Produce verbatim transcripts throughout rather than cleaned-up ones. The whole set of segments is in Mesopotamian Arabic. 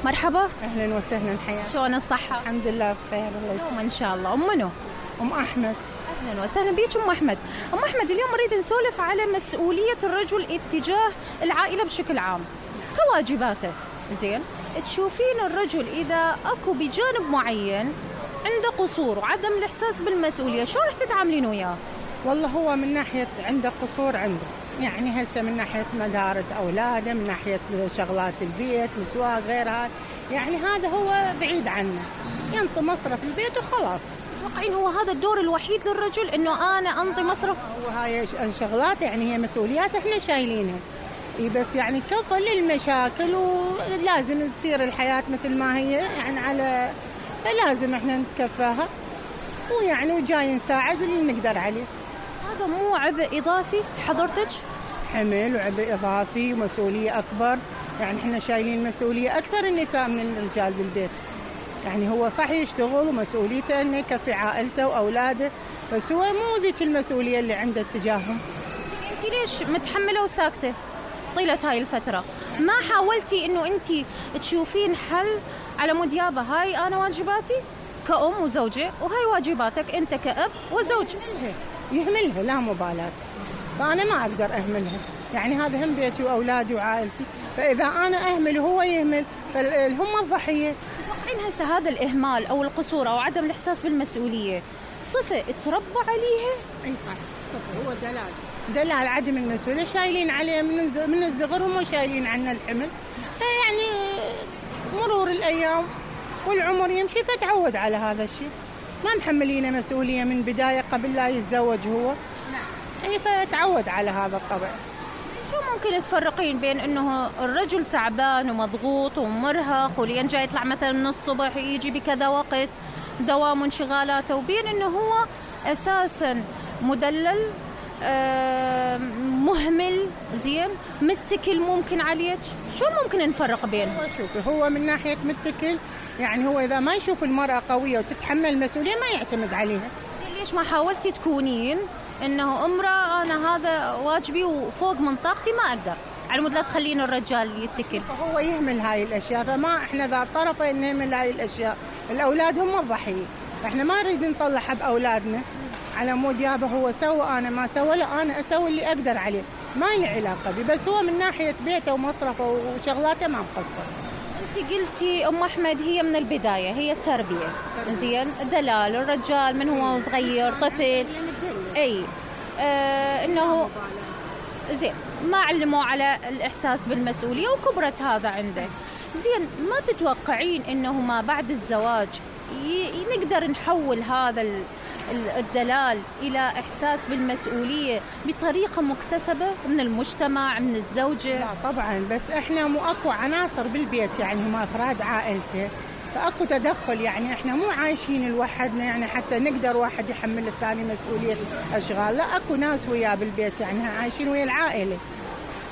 مرحبا. اهلا وسهلا حياك. شلون الصحة؟ الحمد لله بخير الله يسلمك. دوما ان شاء الله. ام منو؟ ام احمد. اهلا وسهلا بيك ام احمد. ام احمد اليوم نريد نسولف على مسؤولية الرجل اتجاه العائلة بشكل عام كواجباته. زين، تشوفين الرجل اذا اكو بجانب معين عنده قصور وعدم الاحساس بالمسؤولية شو رح تتعاملين وياه؟ والله هو من ناحية عنده قصور عنده، يعني هسه من ناحية مدارس أولاده، من ناحية شغلات البيت مسواق غيرها، يعني هذا هو بعيد عنه، ينطي مصرف البيت وخلاص. تتوقعين هو هذا الدور الوحيد للرجل انه انا انطي مصرف؟ وهاي شغلات يعني هي مسؤوليات احنا شايلينها، اي بس يعني كفى للمشاكل ولازم تصير الحياة مثل ما هي، يعني على لازم احنا نتكفاها ويعني وجاي نساعد اللي نقدر عليه. هذا مو عبء إضافي حضرتك؟ حمل وعبء إضافي ومسؤولية أكبر، يعني إحنا شايلين مسؤولية أكثر النساء من الرجال بالبيت. يعني هو صح يشتغل ومسؤوليته إنه يكفي عائلته وأولاده، بس هو مو ذيك المسؤولية اللي عنده تجاههم. أنت ليش متحملة وساكتة طيلة هاي الفترة؟ ما حاولتي إنه أنت تشوفين حل على مود يابا هاي أنا واجباتي كأم وزوجة وهاي واجباتك أنت كأب وزوج؟ يهملها لا مبالاة، فأنا ما أقدر أهملها، يعني هذا هم بيتي وأولادي وعائلتي، فإذا أنا أهمل وهو يهمل فهم الضحية. تتوقعين هسه هذا الإهمال أو القصور أو عدم الإحساس بالمسؤولية صفة تربى عليها؟ أي صح، صفة، هو دلال دلال عدم المسؤولية، شايلين عليه من من الصغر هم شايلين عنا الحمل، فيعني مرور الأيام والعمر يمشي فتعود على هذا الشيء، ما محملينه مسؤولية من بداية قبل لا يتزوج هو. نعم. أي فتعود على هذا الطبع. شو ممكن تفرقين بين إنه الرجل تعبان ومضغوط ومرهق ولين جاي يطلع مثلا من الصبح يجي بكذا وقت دوام وانشغالاته، وبين إنه هو أساسا مدلل آه مهمل زين متكل ممكن عليك؟ شو ممكن نفرق بينهم؟ هو شوفي، هو من ناحية متكل يعني هو إذا ما يشوف المرأة قوية وتتحمل مسؤولية ما يعتمد عليها. زين، ليش ما حاولتي تكونين إنه امرأة أنا هذا واجبي وفوق من طاقتي ما أقدر، على مود لا تخلين الرجال يتكل؟ فهو يهمل هاي الأشياء، فما إحنا ذا طرفين نهمل هاي الأشياء، الأولاد هم الضحية، إحنا ما نريد نطلع بأولادنا على مود يابا هو سوى أنا ما سوى، لا أنا أسوي اللي أقدر عليه، ما لي علاقة بي، بس هو من ناحية بيته ومصرفه وشغلاته ما مقصر. انت قلتي ام احمد هي من البدايه هي التربيه، زين، دلال الرجال من هو صغير طفل اي آه انه زين ما علموا على الاحساس بالمسؤوليه وكبرت هذا عنده. زين، ما تتوقعين انه ما بعد الزواج ي... نقدر نحول هذا ال... الدلال إلى إحساس بالمسؤولية بطريقة مكتسبة من المجتمع من الزوجة؟ لا طبعا، بس إحنا مو أكو عناصر بالبيت، يعني هم أفراد عائلته، فأكو تدخل، يعني إحنا مو عايشين لوحدنا يعني حتى نقدر واحد يحمل الثاني مسؤولية أشغال، لا أكو ناس وياه بالبيت يعني عايشين ويا العائلة،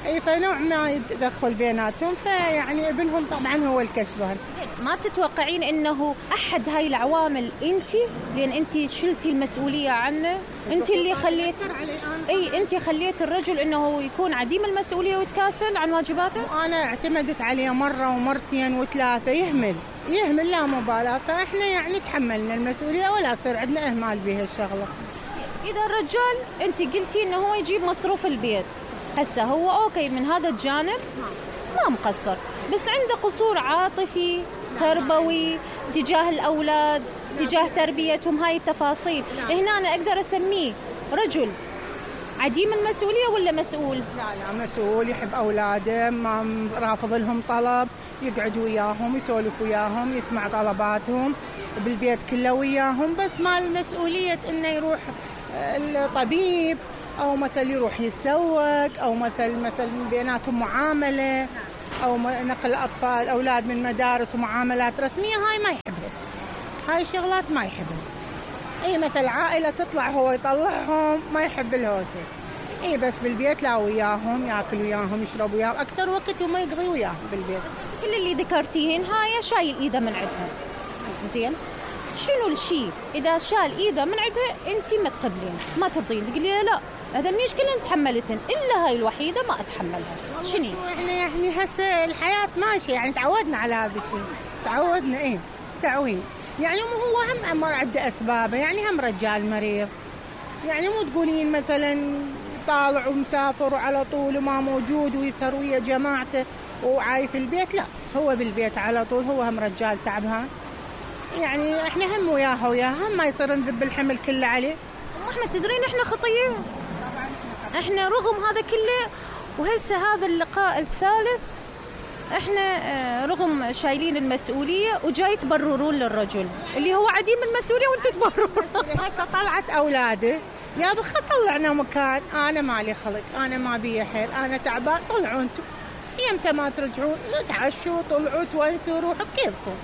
أي فنوع ما يتدخل بيناتهم، فيعني ابنهم طبعا هو الكسبان. زين، ما تتوقعين إنه أحد هاي العوامل أنتي، لأن أنتي شلتي المسؤولية عنه، أنتي اللي خليت أي أنتي خليت الرجل إنه يكون عديم المسؤولية ويتكاسل عن واجباته؟ وأنا اعتمدت عليه مرة ومرتين وثلاثة، يهمل يهمل لا مبالاة، فإحنا يعني تحملنا المسؤولية ولا صار عندنا إهمال بها الشغلة. إذا الرجال أنتي قلتي إنه هو يجيب مصروف البيت، هسه هو أوكي من هذا الجانب ما مقصر، بس عنده قصور عاطفي تربوي تجاه الأولاد تجاه تربيتهم، هاي التفاصيل هنا أنا أقدر أسميه رجل عديم المسؤولية ولا مسؤول؟ لا لا مسؤول، يحب أولاده، ما رافض لهم طلب، يقعد وياهم يسولف وياهم يسمع طلباتهم بالبيت كله وياهم، بس ما المسؤولية إنه يروح الطبيب أو مثل يروح يتسوق أو مثل مثل بيناتهم معاملة أو نقل أطفال أولاد من مدارس ومعاملات رسمية، هاي ما يحبها، هاي الشغلات ما يحبها. أي مثل عائلة تطلع هو يطلعهم ما يحب الهوسة، أي بس بالبيت لا وياهم يأكل وياهم يشرب وياهم أكثر وقت وما يقضي وياهم بالبيت. بس كل اللي ذكرتيهن هاي شايل إيده من عندها، زين شنو الشيء إذا شال إيده من عندها أنت ما تقبلين ما ترضين تقولي لا هذنيش كلهن تحملتن الا هاي الوحيده ما اتحملها. شنو احنا يعني هسه الحياه ماشيه، يعني تعودنا على هذا الشيء، تعودنا ايه تعويد. يعني مو هو هم امر عنده اسبابه، يعني هم رجال مريض، يعني مو تقولين مثلا طالع ومسافر وعلى طول وما موجود ويسهر ويا جماعته وعاي في البيت، لا هو بالبيت على طول، هو هم رجال تعبان. يعني احنا هم وياها وياها، هم ما يصير نذب الحمل كله عليه. ام احمد تدرين احنا خطيه، احنا رغم هذا كله وهسه هذا اللقاء الثالث احنا رغم شايلين المسؤوليه وجاي تبررون للرجل اللي هو عديم المسؤوليه وانتم تبررون. هسه طلعت اولاده يا بخ طلعنا مكان، انا مالي خلق، انا ما بي حيل، انا تعبان، طلعوا انتم يمتى ما ترجعون تعشوا طلعوا تونسوا روحوا بكيفكم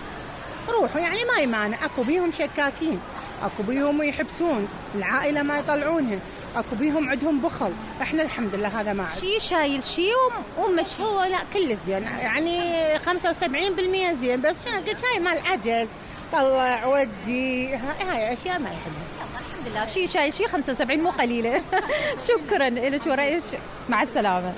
روحوا. يعني ما يمانع، اكو بيهم شكاكين، اكو بيهم يحبسون العائله ما يطلعونها، اكو بيهم عندهم بخل. احنا الحمد لله هذا ما عندنا شيء شايل شيء ومشي. هو لا كل زين، يعني خمسة وسبعين بالمئة زين، بس شنو قلت هاي مال عجز، طلع ودي، هاي اشياء ما يحبها. الحمد لله شيء شايل شيء خمسة وسبعين مو قليله. شكرا لك ورأيك، مع السلامه.